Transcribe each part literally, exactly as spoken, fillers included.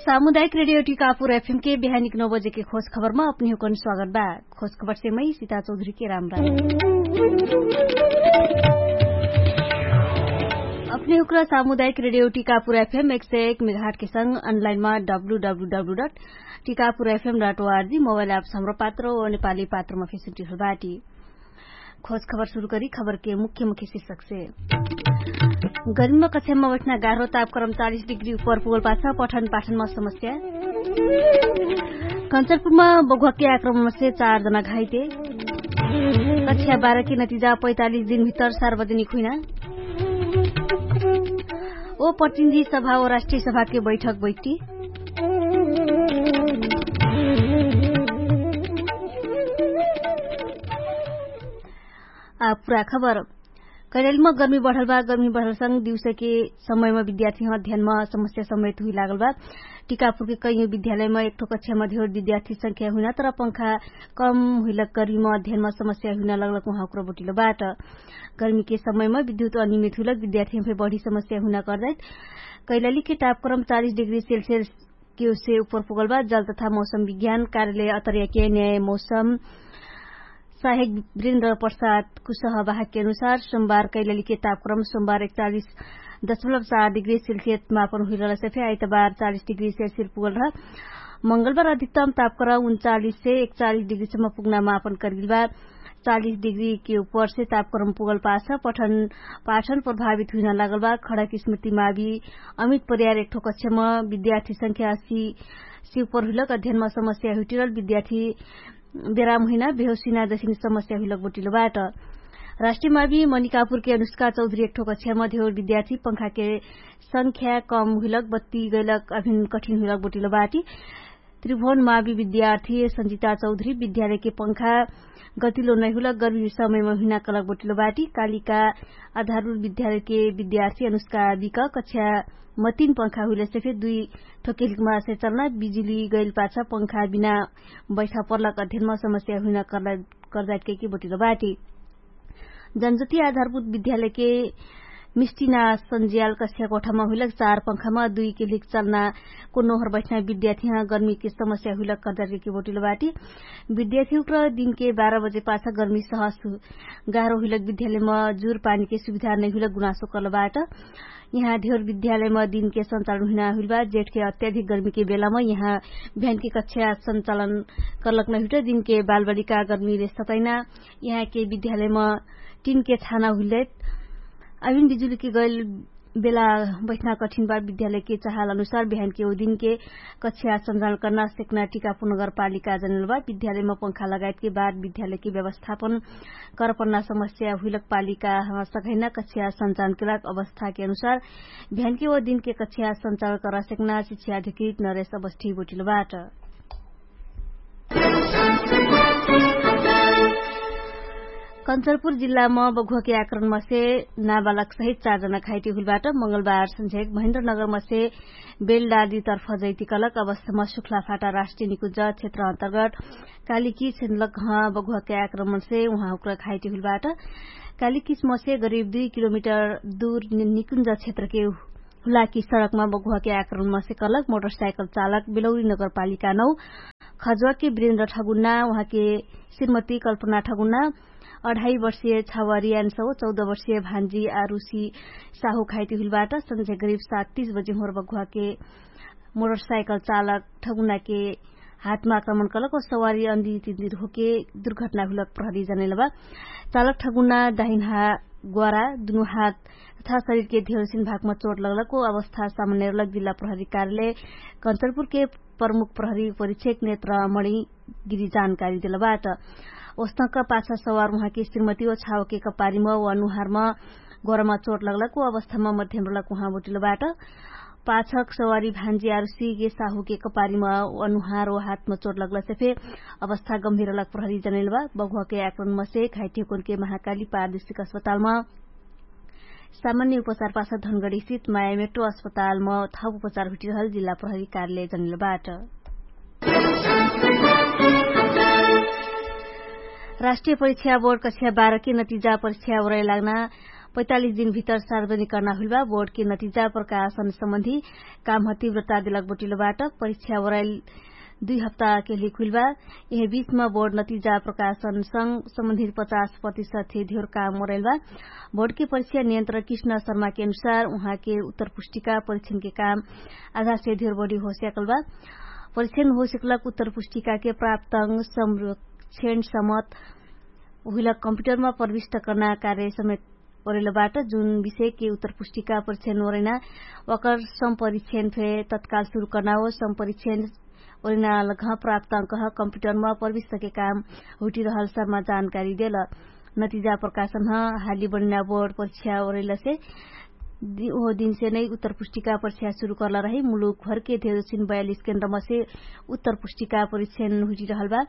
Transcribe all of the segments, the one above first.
सामुदायिक रेडियो टिकापुर एफएम के बिहानिक नौ बजे के खोज खबरमा अपनी हुकन स्वागत बा। खोज खबर से मै सीता चौधरी के राम राम। अपनी हुकरा सामुदायिक रेडियो टिकापुर एफएम एक सय एक मेघाट के संग अनलाइनमा W W W dot Tikapur F M dot O R G mobile apps Hamro Patro ओ नेपाली पात्रमा फेसिलिटी बाटी। खोज खबर सुरु करी खबर के मुख्य मुख्य शीर्षक से। गर्मीमा कक्षामा बैठना गाह्रो तापक्रम चालिस डिग्री उपर पुगल पाछ पठन पाठनमा समस्या। कञ्चरपुरमा बघुवाके आक्रमणमा से चार जना घाइते। कक्षा बाह्र के नतिजा पैँतालिस दिन भित्र सार्वजनिक हुइना। ओ प्रतिनिधि सभा ओ राष्ट्रिय सभाके बैठक बैठी। आ पुरा खबर। कैलालीमा गर्मी बढल बा। गर्मी बढलसँग दिउसके समयमा विद्यार्थीमा अध्ययनमा समस्या समेत हुइ लागल बा। टिकापुरके कैयौँ विद्यालयमा एकठो कक्षामा धेर विद्यार्थी संख्या हुइना तर पंखा कम हुइलक गर्मीमा अध्ययनमा समस्या हुइना लगलक उहाँ हुक्र बोटिलो बाट। गर्मीके समयमा विद्युत अनियमित हुइलक विद्यार्थीमा फेर बढी समस्या हुइना कर्दैत। कैलालीके तापक्रम चालिस डिग्री सेल्सियस केउसे उपर पुगल बा। जल तथा मौसम विज्ञान कार्यालय अतर्याके न्याय मौसम साहेक वीरेन्द्र प्रसाद कुशह बाहकके अनुसार सोमबार कैलालीके तापक्रम सोमबार एकचालिस दशमलब चार डिग्री सेल्सियस मापन हुइलल सफे आइतबार चालिस डिग्री सेल्सियस पुगल रह। मंगलबार अधिकतम तापक्रम उनचालिस से एकचालिस डिग्रीसम्म पुग्ना मापन करिल बा। चालिस डिग्री के उपर से तापक्रम पुगल पाछ पठन पाठन प्रभावित हुइना लागल बा। खडक स्मृति मावि अमित परियार एकठो कक्षामा विद्यार्थी संख्या अस्सी से उपर हुइलक अध्ययनमा समस्या हुइटिरल विद्यार्थी बेराम हुइना बेहोसिना जसिन समस्या हुइलक बोटिलो बाट। राष्ट्रिय मावि मनिकापुरके अनुष्का चौधरी एकठो कक्षामा धेर विद्यार्थी पंखाके संख्या कम हुइलक बत्ती गैलक अभिन कठिन हुइलक बोटिलो बाटी। त्रिभुवन मावि विद्यार्थी संजिता चौधरी विद्यालयके पंखा गतिलो नैहुलक गर्मी समयमा हुइना कलक बोटिलो बाटी। कालिका आधारभूत विद्यालयके विद्यार्थी अनुष्का बिक कक्षा मतिन पंखा हुइले से फेर दुइ ठोकेलिकमा से चलना बिजुली गैल पाछ पंखा बिना बैठा पर्लक अध्ययनमा समस्या हुइना कर्जाइट कैके बोटिलो बाटी। जनजति आधारभूत विद्यालयके मिस्टिना सन्ज्याल कक्षा कोठामा हुइलक चार पंखामा दुइ केलिक चलना को नोहर बैठना विद्यार्थीहाँ गर्मीके समस्या हुइलक कर्जाइट कैके बोटिलो बाटी। विद्यार्थी उक्र दिनके बाह्र बजे पाछ गर्मी सहस गाह्रो हुइलक विद्यालयमा जुर पानीके सुविधा नै हुइलक गुनासो कर्ल बाट। यहाँ धेर विद्यालयमा दिनके सञ्चालन हुइना हुइल बा जेठके अत्याधिक गर्मीके बेलामा यहाँ भ्यानके कक्षा सञ्चालन कर्लक नै हुइट दिनके बालबालिका गर्मीले सतैना। यहाँके विद्यालयमा टिनके छाना हुइलैत अभिन बिजुलीके गैल बेला बैठना कठिन बा। विद्यालयके चाहल अनुसार बिहानके ओ दिनके कक्षा सञ्चालन कर्ना सेक्ना टिकापुर नगरपालिका जनल बा। विद्यालयमा पंखा लगायतके बाद विद्यालयके व्यवस्थापन करपन्ना समस्या हुइलक पालिका सघैना कक्षा सञ्चालन केलक अवस्थाके अनुसार भ्यानके ओ दिनके कक्षा सञ्चालन कर्ना सेक्ना शिक्षा अधिकृत नरेश अवस्थी बोटिल बाट। कञ्चरपुर जिल्लामा बघुवाके आक्रमणमा से नाबालक सहित चार जना घाइटी हुइल बाट। मंगलबार सन्झेक महेन्द्रनगरमा से बेलडाली तर्फ जैतिकलक अवस्थामा सुख्लाफाटा राष्ट्रिय निकुञ्ज क्षेत्र अन्तर्गत कालिकी सेन्लक ह बघुवाके आक्रमण से उहाँ हुक्र घाइटी हुइल बाट। कालिकी स्मसे गरिब दुइ किलोमिटर दुर निकुञ्ज क्षेत्रके हुलाकी सडकमा बघुवाके आक्रमणमा से कलक मोटरसाइकल चालक बेलौरी नगरपालिका नौ खजुवाके वीरेन्द्र ठगुन्ना उहाँके श्रीमती कल्पना ठगुन्ना अढाई वर्षीय छावारी यानसौ चौध वर्षीय भान्जी आरुसी साहु घाइटी हुइल बाट। सन्झे गरिब सात तीस बजे होर बघुवाके मोटरसाइकल चालक ठगुन्नाके हातमा आक्रमण कलक ओ सवारी अन्दी तिन्दिर होके दुर्घटना हुइलक प्रहरी जनैल बा। चालक ठगुन्ना दाहिन हात ग्वारा दुनु हात तथा शरीरके धेरसिन भागमा चोट लगलक ओ अवस्था सामान्य रहलक जिल्ला प्रहरी कार्यालय कञ्चरपुरके प्रमुख प्रहरी परीक्षक नेत्र मणि गिरी जानकारी देल बाट। ओस्तक पाछा सवार उहाँके श्रीमती ओ छावके कपारीमा ओ अनुहारमा गोरमा चोट लगलक ओ अवस्थामा मध्यम रहलक उहाँ बोटिल बाट। पाछक सवारी भान्जी आरुसीके साहुके कपारीमा अनुहार ओ हातमा चोट लगलसे फे अवस्था गम्भीर रहलक प्रहरी जनैल बा। बघुवाके आक्रमणमा से घाइटी हुकुनके महाकाली पारदेशिक अस्पतालमा सामान्य उपचार पाछ धनगढीसित मायामेट्रो अस्पतालमा थप उपचार हुटिरहल जिल्ला प्रहरी कार्यालय जनैल बाट। राष्ट्रिय परीक्षा बोर्ड कक्षा बाह्र के नतिजा परीक्षा ओरै लाग्ना पैतालिस दिन भितर सार्वजनिक कर्ना हुइलबा बोर्डके नतिजा प्रकाशन सम्बन्धी काम ह तिव्रता देलक बटिलो बाट। परीक्षा ओराइल दुई हप्ताके लिक हुइलबा। यहे बीचमा बोर्ड नतिजा प्रकाशन संग सम्बन्धित पचास प्रतिशत थे धियोर काम ओराइलबा। बोर्डके परीक्षा नियन्त्रण कृष्ण शर्माके अनुसार उहाँके उत्तर पुष्टिका परीक्षणके काम आधासे धियोर बढी होस्याकलबा। परीक्षण होस्याकलक उत्तर पुष्टिकाके प्राप्तंग संरक्षण समत उहिला कम्प्युटरमा प्रविष्ट कर्ना कार्य समेत ओरेलबाट जुन विषयके उत्तर पुष्टिका परीक्षण ओरेना ओकर सम्परीक्षण फे तत्काल सुरु कर्ना हो। सम्परीक्षण ओरेना लघ प्राप्तंक ह कम्प्युटरमा प्रविष्टके काम हुटिरहल सरमा जानकारी देल। नतिजा प्रकाशन ह हाली बनिना बोर्ड परीक्षा ओरेलसे ओहो दिनसे नै उत्तर पुष्टिका परीक्षा सुरु कर्ला रही। मुलुक घरके धेरोसिन बयालिस केन्द्रमसे उत्तर पुष्टिका परीक्षण हुटिरहल बा।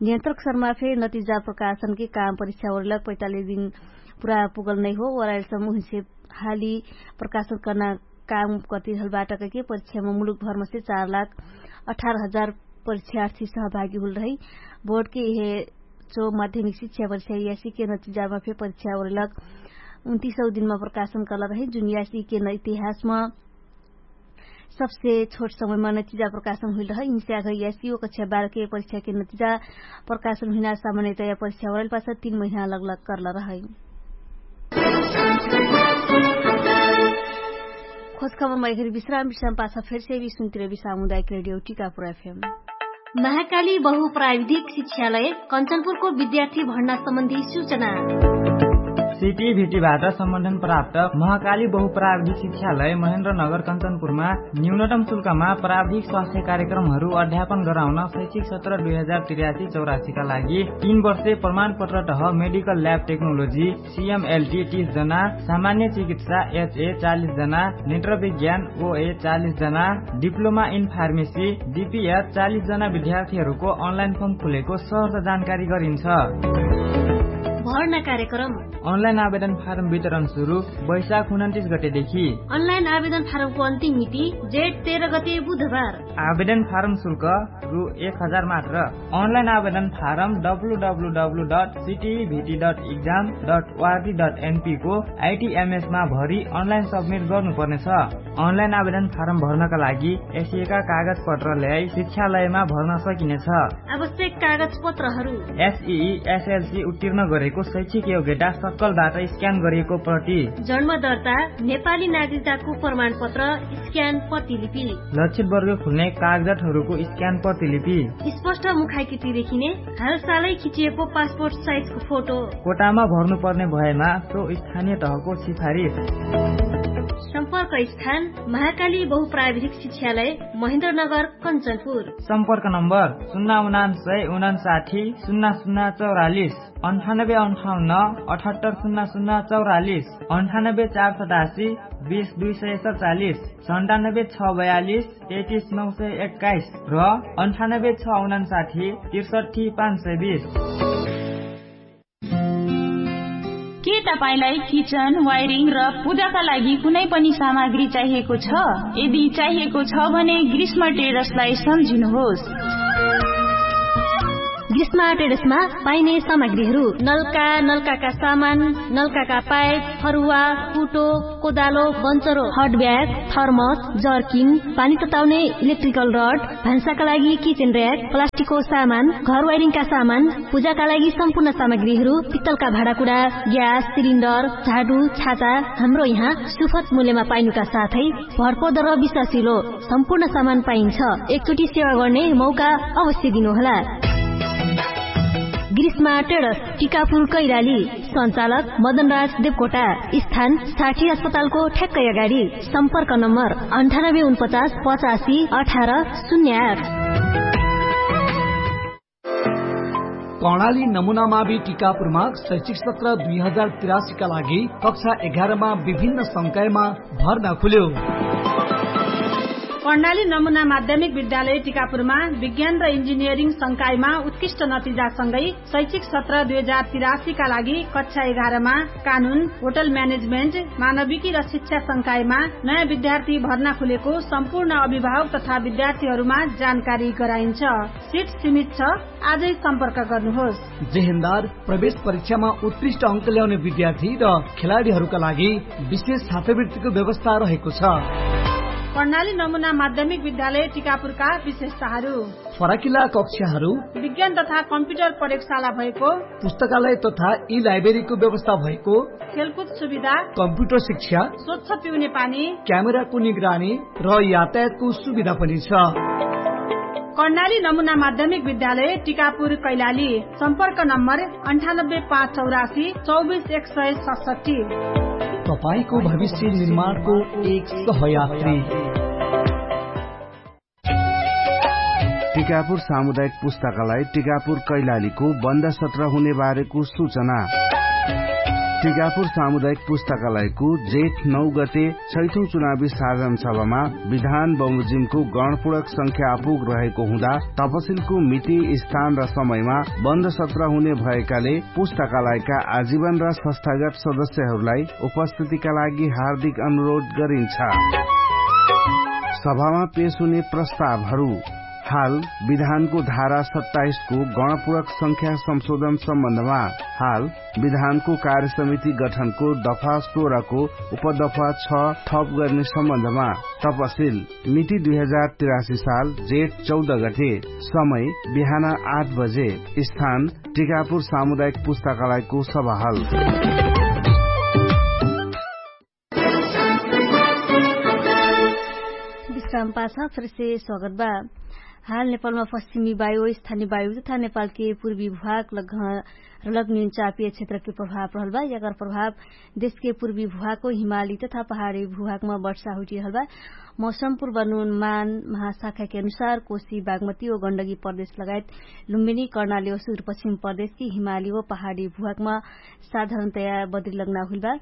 नियन्त्रक शर्मा फे नतिजा प्रकाशनके काम परीक्षा ओरेलक पैतालिस दिन पुरा पुगल नै हो। ओराइल समुहसे हाली प्रकाशन कर्ना काम कतिरहल बाटकके परीक्षामा मुलुक भरमसे चार लाख अठार हजार परीक्षार्थी सहभागी हुल रही। बोर्डके यहे चो माध्यमिक शिक्षा परीक्षा यासीके नतिजामा फे परीक्षा ओरेलक उन्तिसौ दिनमा प्रकाशन कर्ला रही जुन यासीके इतिहासमा सबसे छोट समयमा नतिजा प्रकाशन हुइल रहै। इन्स्याग यासी ओ कक्षा बाह्रके परीक्षाके नतिजा प्रकाशन हुइना सामान्यतया परीक्षा होरैल पाछा तीन महिना लगलग कर्ल रहै। खोजखबरमा एखरी विश्राम विश्राम पाछा फेरसे भी सुन्तिरबी सामुदायिक रेडियो टिकापुर एफएम। महाकाली बहु प्राविधिक शिक्षालय कञ्चनपुरको विद्यार्थी भर्ना सम्बन्धी सूचना। सिटी भिटीबाट सम्बन्धन प्राप्त महाकाली बहु प्राविधिक शिक्षालय महेन्द्र नगर कञ्चनपुरमा न्यूनतम शुल्कमा प्राविधिक स्वास्थ्य कार्यक्रमहरू अध्यापन गराउन शैक्षिक सत्र दुई हजार त्रियासी चौरासीका लागि तीन वर्षे प्रमाणपत्र तह मेडिकल ल्याब टेक्नोलोजी सिएमएलटी तीस जना, सामान्य चिकित्सा एचए चालिस जना, नेत्र विज्ञान ओए चालिस जना, डिप्लोमा इन फार्मेसी डिपिएच चालिस जना विद्यार्थीहरूको अनलाइन फर्म खुलेको सहर्ष जानकारी गरिन्छ। भर्ना कार्यक्रम। अनलाइन आवेदन फारम वितरण सुरु वैशाख उन्तिस गतेदेखि। अनलाइन आवेदन फारमको अन्तिम मिति जेठ तेह्र गते बुधबार। आवेदन फारम शुल्क रु एक हजार मात्र। अनलाइन आवेदन form W W W dot C T V T dot exam dot O R G dot एनपीको आइटिएमएसमा भरि अनलाइन सब्मिट गर्नुपर्नेछ। अनलाइन आवेदन फारम भर्नका लागि एसिएका कागजपत्र ल्याई शिक्षालयमा भर्न सकिनेछ। आवश्यक कागजपत्रहरू। एसइई एसएलसी उत्तीर्ण गरेको शैक्षिक योग्यता सक्कलबाट स्क्यान गरिएको प्रति। जन्म दर्ता, नेपाली नागरिकताको प्रमाणपत्र, स्क्यान प्रतिलिपि। लक्षित वर्ग खुल्ने कागजातहरूको स्क्यान प्रतिलिपि। स्पष्ट मुखाकृति देखिने हालसालै खिचिएको पासपोर्ट साइजको फोटो। कोटामा भर्नुपर्ने भएमा सो स्थानीय तहको सिफारिस। सम्पर्क स्थान महाकाली बहुप्राविधिक शिक्षालय महेन्द्रनगर कञ्चनपुर। सम्पर्क नम्बर सुन्ना उनान्सय उनान्साठी सुन्ना सुन्ना चौरालिस। अन्ठानब्बे अन्ठाउन्न अठहत्तर सुन्ना सुन्ना चौरालिस। अन्ठानब्बे चार सतासी बिस दुई सय सतचालिस। सन्तानब्बे छ बयालिस तेतिस नौ सय एक्काइस र अन्ठानब्बे छ उनान्साठी त्रिसठी पाँच सय बिस। के तपाईंलाई किचन वायरिङ र पूजाका लागि कुनै पनि सामग्री चाहिएको छ? यदि चाहिएको छ भने ग्रीष्म टेरसलाई सम्झिनुहोस्। ग्रीष्म टेरसमा पाइने सामग्रीहरू नल्का नल्काका सामान, नल्काका पाइप, फरुवा, कुटो, कोदालो, बन्चरो, हटब्याग, थर्मस, जर्किन, पानी तताउने इलेक्ट्रिकल रड, भान्साका लागि किचेन र्याक, प्लास्टिकको सामान, घर वाइरिङका सामान, पूजाका लागि सम्पूर्ण सामग्रीहरू, पित्तलका भाँडाकुडा, ग्यास सिलिन्डर, झाडु, छाता, हाम्रो यहाँ सुफत मूल्यमा पाइनुका साथै भरपर्दो र विश्वासिलो सम्पूर्ण सामान पाइन्छ। एकचोटि सेवा गर्ने मौका अवश्य दिनुहोला। ग्रीष्मा टेडस, टिकापुर कैराली। सञ्चालक मदनराज देवकोटा। स्थान साठी अस्पतालको ठ्याक्कै अगाडि। सम्पर्क नम्बर अन्ठानब्बे उनपचास पचासी अठार शून्य आठ। कर्णाली नमुना मावि टिकापुरमा शैक्षिक सत्र दुई हजार तिरासीका लागि कक्षा एघारमा विभिन्न संकायमा भर्ना खुल्यो। कर्णाली नमुना माध्यमिक विद्यालय टिकापुरमा विज्ञान र इन्जिनियरिङ संकायमा उत्कृष्ट नतिजासँगै शैक्षिक सत्र दुई हजार तिरासीका लागि कक्षा एघारमा कानुन, होटल म्यानेजमेन्ट, मानविकी र शिक्षा संकायमा नयाँ विद्यार्थी भर्ना खुलेको सम्पूर्ण अभिभावक तथा विद्यार्थीहरूमा जानकारी गराइन्छ। सिट सीमित छ। आजै सम्पर्क गर्नुहोस्। जेहेन्दार प्रवेश परीक्षामा उत्कृष्ट अङ्क ल्याउने विद्यार्थी र खेलाडीहरूका लागि विशेष छात्रवृत्तिको व्यवस्था रहेको छ। कर्णाली नमुना माध्यमिक विद्यालय टिकापुरका विशेषताहरू। फराकिला कक्षाहरू, विज्ञान तथा कम्प्युटर प्रयोगशाला भएको, पुस्तकालय तथा ई लाइब्रेरीको व्यवस्था भएको, खेलकुद सुविधा, कम्प्युटर शिक्षा, स्वच्छ पिउने पानी, क्यामेराको निगरानी र यातायातको सुविधा पनि छ। कर्णाली नमुना माध्यमिक विद्यालय टिकापुर कैलाली। सम्पर्क नम्बर अन्ठानब्बे पाँच चौरासी चौबिस एक सय सतसट्ठी। तपाईंको भविष्य निर्माणको एक सहयात्री। टिकापुर सामुदायिक पुस्तकालय टिकापुर कैलालीको बन्द सत्र हुने बारेको सूचना। टिकापुर सामुदायिक पुस्तकालयको जेठ नौ गते छैठौं चुनावी साधन सभामा विधान बमोजिमको गणपूर्वक संख्या अपुग रहेको हुँदा तपसिलको मिति, स्थान र समयमा बन्द सत्र हुने भएकाले पुस्तकालयका आजीवन र संस्थागत सदस्यहरूलाई उपस्थितिका लागि हार्दिक अनुरोध गरिन्छ। सभामा पेश हुने प्रस्तावहरू। हाल विधानको धारा सत्ताइसको गणपूर्वक संख्या संशोधन सम्बन्धमा, हाल विधानको कार्यसमिति गठनको दफा सोह्रको उपदफा छ थप गर्ने सम्बन्धमा तपसिल, मिति दुई हजार तिरासी साल जेठ चौध गते, समय बिहान आठ बजे, स्थान टिकापुर सामुदायिक पुस्तकालयको सभाहल। विश्राम पाछ फेरसे स्वागत बा। हाल नेपालमा पश्चिमी वायु, स्थानीय वायु तथा नेपालके पूर्वी भूभाग लग र लग न्यून चापीय क्षेत्रके प्रभाव रहल बा। यकर प्रभाव देशके पूर्वी भूभागको हिमाली तथा पहाडी भूभागमा वर्षा हुइटिरहल बा। मौसम पूर्वानुमान महाशाखाके अनुसार कोशी, बागमती ओ गण्डकी प्रदेश लगायत लुम्बिनी, कर्णाली ओ सुदूरपश्चिम प्रदेशके हिमाली ओ पहाडी भूभागमा साधारणतया बद्री लग्ना हुइल बा।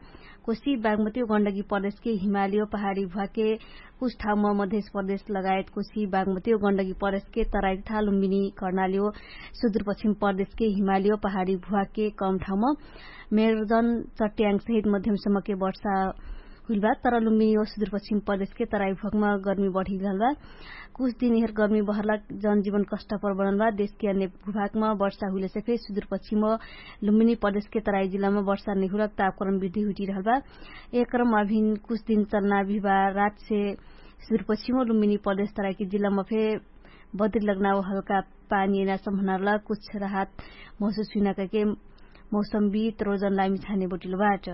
कोशी, बागमती ओ गण्डकी प्रदेशके हिमाली ओ पहाडी भूभागके कुछ ठाउँमा मधेश प्रदेश लगायत कोशी, बागमती ओ गण्डकी प्रदेशके तराई तथा लुम्बिनी, कर्णाली ओ सुदूरपश्चिम प्रदेशके हिमाली ओ पहाडी भूभागके कम ठाउँमा मेरजन, चट्याङ सहित मध्यमसम्मके वर्षा हुइल बा। तर लुम्बिनी ओ सुदूरपश्चिम प्रदेशके तराई भूभागमा गर्मी बढिरहल बा। कुछ दिन यहर गर्मी बहरला जनजीवन कष्टपर बनल बा। देशके अन्य भूभागमा वर्षा हुइलेसे फे सुदूरपश्चिम ओ लुम्बिनी प्रदेशके तराई जिल्लामा वर्षा नैहुलक तापक्रम वृद्धि हुइटिरहल बा। यह क्रम अभिन कुछ दिन चलना बिहिबार रातसे सुदूरपश्चिम ओ लुम्बिनी प्रदेश तराईके जिल्लामा फे बद्री लग्ना ओ हल्का पानी एना सम्भनारला कुछ राहत महसुस हुइना कहिके मौसमविद रोजन लामी छाने बटिलो बाट।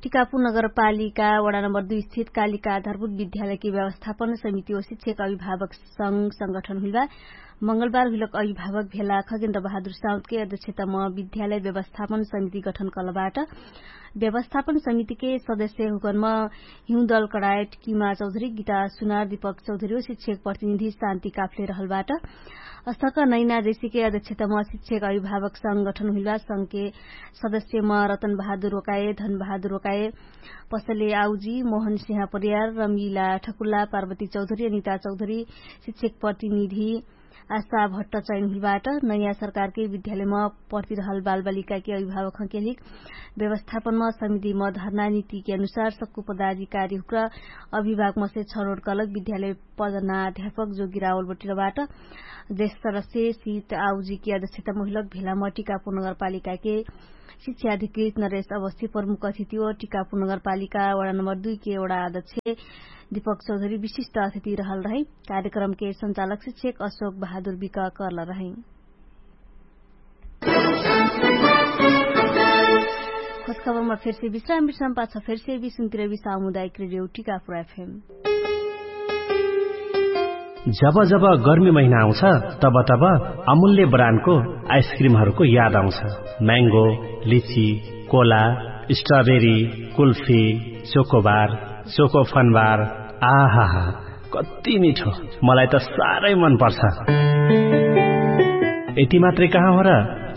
टिकापुर नगरपालिका वडा नम्बर दुई स्थित कालिका आधारभूत विद्यालयके व्यवस्थापन समिति ओ शिक्षक अभिभावक संग संगठन हुइल बा। मंगलबार हुइलक अभिभावक भेला खगेन्द्र बहादुर साउदके अध्यक्षतामा विद्यालय व्यवस्थापन समिति गठन कलबाट। व्यवस्थापन समितिके सदस्य हुकनमा हिउँदल कडायट, किमा चौधरी, गीता सुनार, दीपक चौधरी ओ शिक्षक प्रतिनिधि शान्ति काफले रहलबाट। अस्तक नैना जैसिके अध्यक्षतामा शिक्षक अभिभावक संगठन हुइलबा संगके सदस्यमा रतन बहादुर ओकाए, धन बहादुर ओकाए, पसले आउजी, मोहन सिंह परियार, रमिला ठकुल्ला, पार्वती चौधरी, अनिता चौधरी, शिक्षक प्रतिनिधि आशा भट्ट चयन हुइलबाट। नयाँ सरकारके विद्यालयमा पर्तिरहल बालबालिकाके अभिभावकके लिक व्यवस्थापनमा समितिमा धर्ना नीतिके अनुसार सक्कु पदाधिकारी हुक्र अभिभावकमसे छनोट कलक विद्यालय पदना अध्यापक जोगिरावल बटिरबाट। देश सदस्य सित आउजीके अध्यक्षता महिलक भेलामा टिकापुर नगरपालिकाके शिक्षा अधिकृत नरेश अवस्थी प्रमुख अतिथि ओ टिकापुर नगरपालिका वडा नम्बर दुई के वडा अध्यक्ष दीपक चौधरी विशिष्ट अतिथि रहल रहै। कार्यक्रमके संचालक शिक्षक अशोक बहादुर बिक कर्ल रहै। खोजखबरमा फेरसे विश्राम विश्राम पाछ फेरसे विश्राम तिरवी सामुदायिक रेडियो टिकापुर एफएम। जब जब गर्मी महिना आउँछ, तब तब अमूल्य ब्रान्डको आइसक्रिमहरूको याद आउँछ। म्याङ्गो, लिची, Cola, strawberry, kulfi, chocobar, choco Fun Bar, आहाहा, कति मिठो। मलाई त साह्रै मन पर्छ। यति मात्रै कहाँ हो र?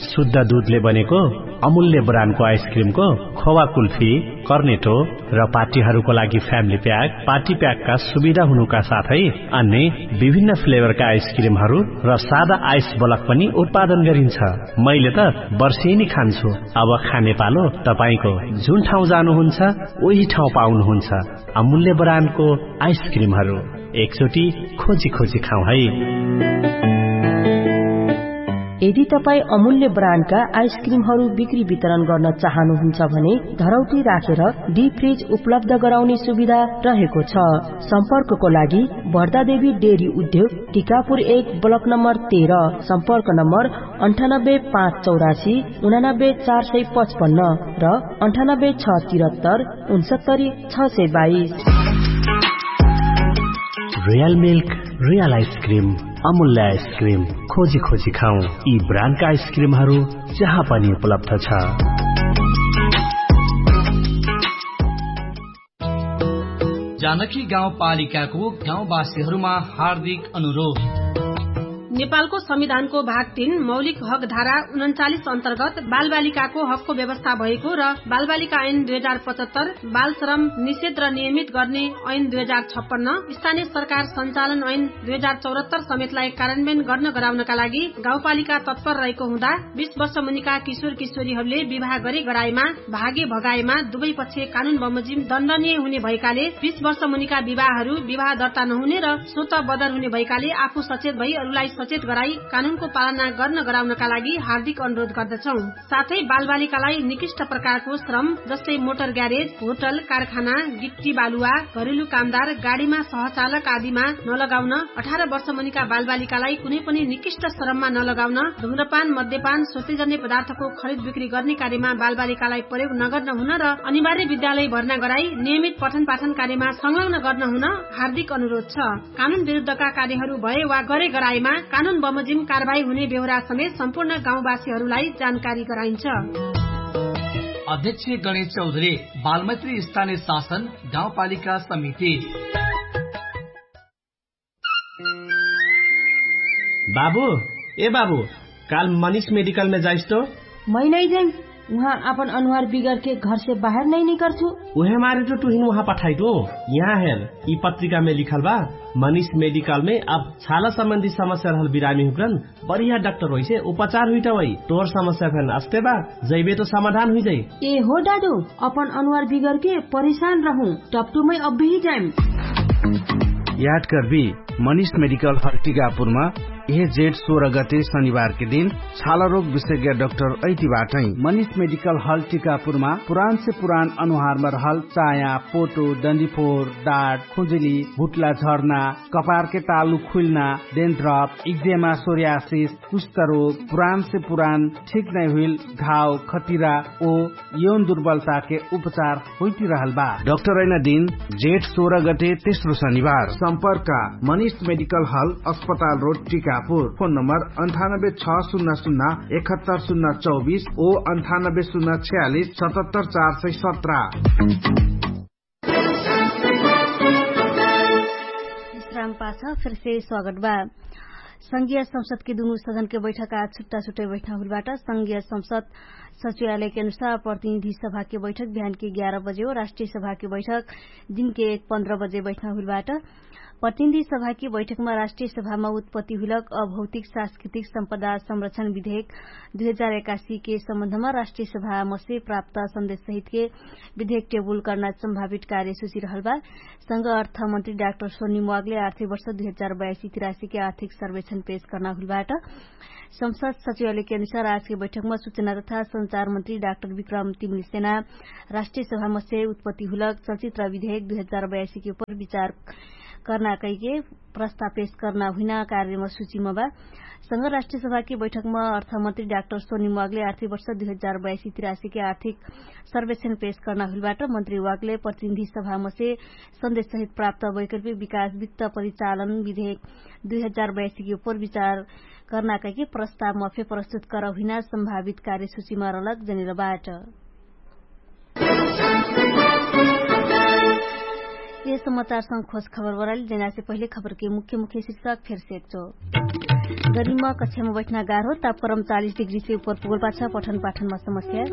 शुद्ध दुधले बनेको अमूल्य ब्रान्डको आइसक्रिमको खोवा कुल्फी, कर्नेटो र पार्टीहरूको लागि फ्यामिली प्याक, पार्टी प्याकका सुविधा हुनुका साथै अन्य विभिन्न फ्लेभरका आइसक्रिमहरू र सादा आइस बलक पनि उत्पादन गरिन्छ। मैले त वर्षेनी खान्छु। अब खाने पालो तपाईंको। जुन ठाउँ जानुहुन्छ, उही ठाउँ पाउनुहुन्छ अमूल्य ब्रान्डको आइसक्रिमहरू। एकचोटि खोजी खोजी खाउँ है। यदि तपाईं अमूल्य ब्रान्डका आइसक्रिमहरू बिक्री वितरण गर्न चाहनुहुन्छ भने धरौटी राखेर डिप फ्रिज उपलब्ध गराउने सुविधा रहेको छ। सम्पर्कको लागि भर्दादेवी डेरी उद्योग, टिकापुर एक, ब्लक नम्बर तेह्र। सम्पर्क नम्बर अन्ठानब्बे पाँच चौरासी उनानब्बे चार सय पचपन्न र अन्ठानब्बे छ तिरत्तर उनसत्तरी छ सय बाइस। रियल मिल्क, रियल आइसक्रिम, अमूल्य आइसक्रिम। खोजी खोजी खाउँ यी ब्रान्डका आइसक्रिमहरू जहाँ पनि उपलब्ध छ। जानकी गाउँपालिकाको गाउँवासीहरूमा हार्दिक अनुरोध। नेपालको संविधानको भाग तीन मौलिक हक धारा उनन्चालिस अन्तर्गत बालबालिकाको हकको व्यवस्था भएको र बालबालिका ऐन दुई हजार पचहत्तर, बाल श्रम निषेध र नियमित गर्ने ऐन दुई हजार छप्पन्न, स्थानीय सरकार सञ्चालन ऐन दुई हजार चौहत्तर समेतलाई कार्यान्वयन गर्न गराउनका लागि गाउँपालिका तत्पर रहेको हुँदा बिस वर्ष मुनिका किशोर किशोरीहरूले विवाह गरे गराएमा, भागे भगाएमा दुवै पक्ष कानुन बमोजिम दण्डनीय हुने भएकाले बिस वर्ष मुनिका विवाहहरू विवाह दर्ता नहुने र स्वत बदर हुने भएकाले आफू सचेत भई अरूलाई सचेत गराई कानुनको पालना गर्न गराउनका लागि हार्दिक अनुरोध गर्दछौँ। साथै बालबालिकालाई निकृष्ट प्रकारको श्रम जस्तै मोटर ग्यारेज, होटल, कारखाना, गिट्टी बालुवा, घरेलु कामदार, गाडीमा सहचालक आदिमा नलगाउन, अठार वर्ष मुनिका बालबालिकालाई कुनै पनि निकृष्ट श्रममा नलगाउन, धुम्रपान, मद्यपान, सोचेजन्य पदार्थको खरिद बिक्री गर्ने कार्यमा बालबालिकालाई प्रयोग नगर्न हुन र अनिवार्य विद्यालय भर्ना गराई नियमित पठन पाठन कार्यमा संलग्न गर्न हुन हार्दिक अनुरोध छ। कानुन विरुद्धका कार्यहरू भए वा गरे गराएमा कानुन बमोजिम कारवाही हुने बेहोरा समेत सम्पूर्ण गाउँवासीहरूलाई जानकारी गराइन्छ। अध्यक्ष गणेश चौधरी, बालमैत्री स्थानीय शासन गाउँपालिका समिति। बाबु, ए बाबु, काल मनिष मेडिकलमे जाइस तो? मै नै जाइम। उहाँ आपन अनुहार बिगरके घरसे बाहेर नै निकर्छु। उहे मारे तो तुहिन उहाँ पठाइटु। यहाँ हेर, यि पत्रिकामे लिखल बा, मनिष मेडिकलमे अब छाला सम्बन्धी समस्या रहल बिरामी हुक्रन बढिया डाक्टर होइसे उपचार हुइटवै। तोर समस्या फेन अस्ते बा, जैबे तो समाधान हुइजै। ए हो डाडु, अपन अनुहार बिगरके परेशान रहु, टप्टुमै अब्बी जाइम। याद करबी, मनिष मेडिकल हल टिकापुरमा यह जेठ सोह्र गते शनिबारके दिन छालारोग विशेज्ञ डाक्टर ऐति बाटै। मनिष मेडिकल हल टिकापुरमा पुरानसे पुरान अनुहारमा रहल चाया, पोटो, डन्डीफोर, डाट, खुजुली, भुट्ला झर्ना, कपारके तालु खुइल्ना, डेन्ड्रप, इक्जेमा, सोर्यासिस, कुष्ठरोग, पुरानसे पुरान ठिक नै हुइल घाव, खतिरा ओ यौन दुर्बलताके उपचार होइतिरहल बा। डाक्टर ऐना दिन जेठ सोह्र गते तेस्रो शनिबार। सम्पर्क मनिष मेडिकल हल, अस्पताल रोड, टिकापुर। फोन नम्बर अन्ठानब्बे छ सुन्ना सुन्ना एकहत्तर सुन्ना चौबिस ओ अन्ठानब्बे सुन्ना छ्यालिस सतहत्तर चार सय सत्र। विश्राम पाछ फेरसे स्वागत बा। संघीय संसदके दुनु सदनके बैठक आज छुट्टा छुट्टै बैठना हुइलबाट। संघीय संसद सचिवालयके अनुसार प्रतिनिधि सभाके बैठक बिहानके एघार बजे हो। राष्ट्रिय सभाके बैठक दिनके एक पन्ध्र बजे बैठना हुइलबाट। प्रतिनिधि सभाके बैठकमा राष्ट्रिय सभामा उत्पत्ति हुइलक अभौतिक सांस्कृतिक सम्पदा संरक्षण विधेयक दुई हजार एकासीके सम्बन्धमा राष्ट्रिय सभामसे प्राप्त सन्देश सहितके विधेयक टेबुल कर्ना सम्भावित कार्य सुचिरहल बा। संघ अर्थमन्त्री डाक्टर सोनी म्वागले आर्थिक वर्ष दुई हजार बयासी तिरासीके आर्थिक सर्वेक्षण पेश कर्ना हुइलबाट। संसद सचिवालयके अनुसार आजके बैठकमा सुचना तथा सञ्चारमन्त्री डाक्टर विक्रम तिमिलसेना राष्ट्रिय सभामसे उत्पत्ति हुइलक चलचित्र विधेयक दुई हजार बयासीके उपर विचार कर्ना कैके प्रस्ताव पेश कर्ना हुइना कार्यमा सुचिमा बा। संघ राष्ट्रिय सभाके बैठकमा अर्थमन्त्री डाक्टर सोनी म्वागले आर्थिक वर्ष दुई हजार बयासी तिरासीके आर्थिक सर्वेक्षण पेश कर्ना हुइलबाट। मन्त्री वागले प्रतिनिधि सभामसे सन्देश सहित प्राप्त वैकल्पिक विकास वित्त परिचालन विधेयक दुई हजार बयासीके उपर विचार कर्ना कैके प्रस्तावमा फे प्रस्तुत करहुइना सम्भावित कार्य सुचिमा रहलक जनेलबाट। यस समाचारसँग खोज खबर बराली जनासे पहिले खबरके मुख्य मुख्य शिर्षक फेरसे एकचो। गरिम कक्षामा बैठना गाह्रो, तापक्रम चालिस डिग्री से उपर पुगल पाछ पठन पाठनमा समस्या।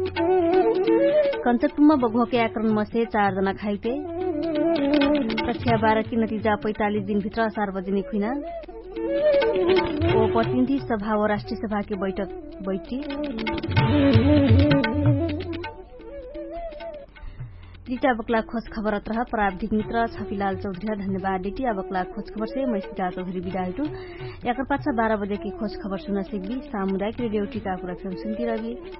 कन्चरपुरमा बगुहके आक्रमणमा से चार जना खाइते। कक्षा बाह्र कि नतिजा पैँतालिस दिनभित्र सार्वजनिक हुइना। ओ प्रतिनिधि सभा व राष्ट्रिय सभाके बैठक बैठी। दिटा बक्ला खोज खबर अत्रह प्राविधिक मित्र छपिलाल चौधरी ह धन्यवाद। दिटी आ बक्ला खोज खबर से मैसिका चौधरी बिदा हुइटु। याकर पाछा बाह्र बजेके खोज खबर सुना सिकबी। सामुदायिक रेडियो टिकापुर एफएम सुन्ती रहबी।